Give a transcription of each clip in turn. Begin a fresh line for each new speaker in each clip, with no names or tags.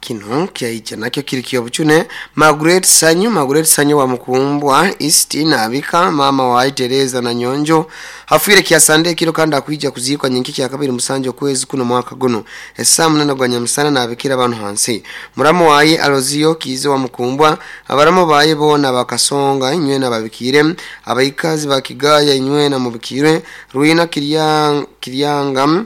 Kino kyaija nakyo kiri kyobuchune Margaret Sanyu Margaret Sanyu wa Mukumbwa East nabika maama waye Tereza Nanyonjo afwire kyasande ekiro kandi akwija kuziikwa nyenki kyakabiri musanju okwezi kuno mwaka guno esaa munana gwa nyamusana nabikira abantu hansi muramu waye Alozio Kiiza wa Mukumbwa abaramu baye boona bakasonga inywena babikire abaikazi ba Kigaya inywena mubikire Rwina Kiryanga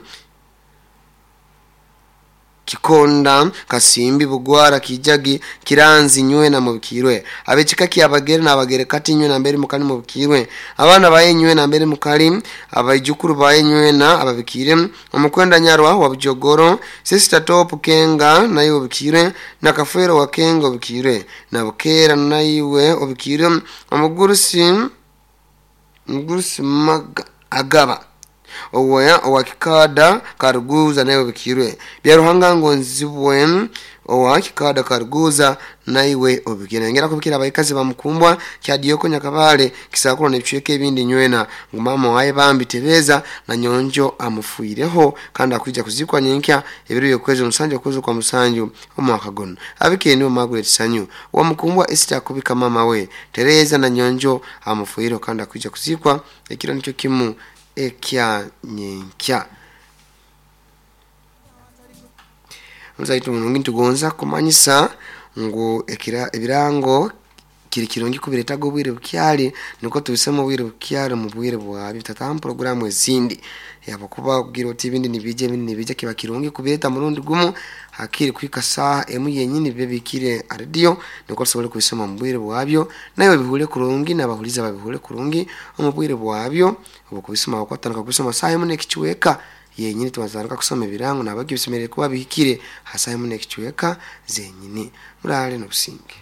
Kikonda, Kasimbi, Bugwara, Kijagi, Kiranzi nywena mubikirwe. Ab'ekika ky'Abagere n'Abagere kati nywena mbere mukali mubikirwe. Abaana baye nywena mbere mukali, abaijukuru baye nywena ababikire. Omukwenda Nyarwa wa Bujogoro, Sister Top Kenga naye obikirwe, na Kafwero wa Kenga obikirwe, na Bukeera naiwe obikirwe, Omugurusi Omugurusi Maga Agaba owa owa Kikaada Karuguza naiwe obikirwe. Byaruhanga Ngonzibwe owa Kikaada Karuguza naiwe obikirwe. Nengera kubikira abaikazi bamukumbwa Kyadioko Nyakabale Kisakuro n'ebicweka ebindi nywena ngu maama waye bambi Tereza na Nyonjo amufuireho kandi akwija kuzikwa nyenkya ebiro by'okwezi omusanju okwezi kwa musanju omwaka guno. Abikire niwe Margaret Sanyu wa Mukumbwa Esther akubika maama we Tereza na Nyonjo amufuireho kandi akwija kuzikwa ekiro nikyo kimu ekya nyenkya. Muzaitu murungi nitugonza kumanyisa ngu ekira ebirango kiri kirungi kubiretaga obwire bukyali nukwo tubisemu obwire bukyali omu bwire bwabyo tutatamu puroguramu ezindi habwokuba kugira oti ebindi nibiija ebindi nibiija kiba kirungi kubireta murundi gumu hakiri kuhika saaha emu yenyini bibe bihikire ha rediyo nukwo tusobole kubisoma omu bwire bwabyo naiwe obihuure kurungi n'abahuliza babihuure kurungi omu bwire bwabyo obwokubisoma habwokuba tutandika kubisoma saaha emu n'ekicweka yenyini twatandika kusoma ebirango nahabweki bisemeriire kuba bihikire ha saaha emu n'ekicweka zenyini. Muraale n'obusinge.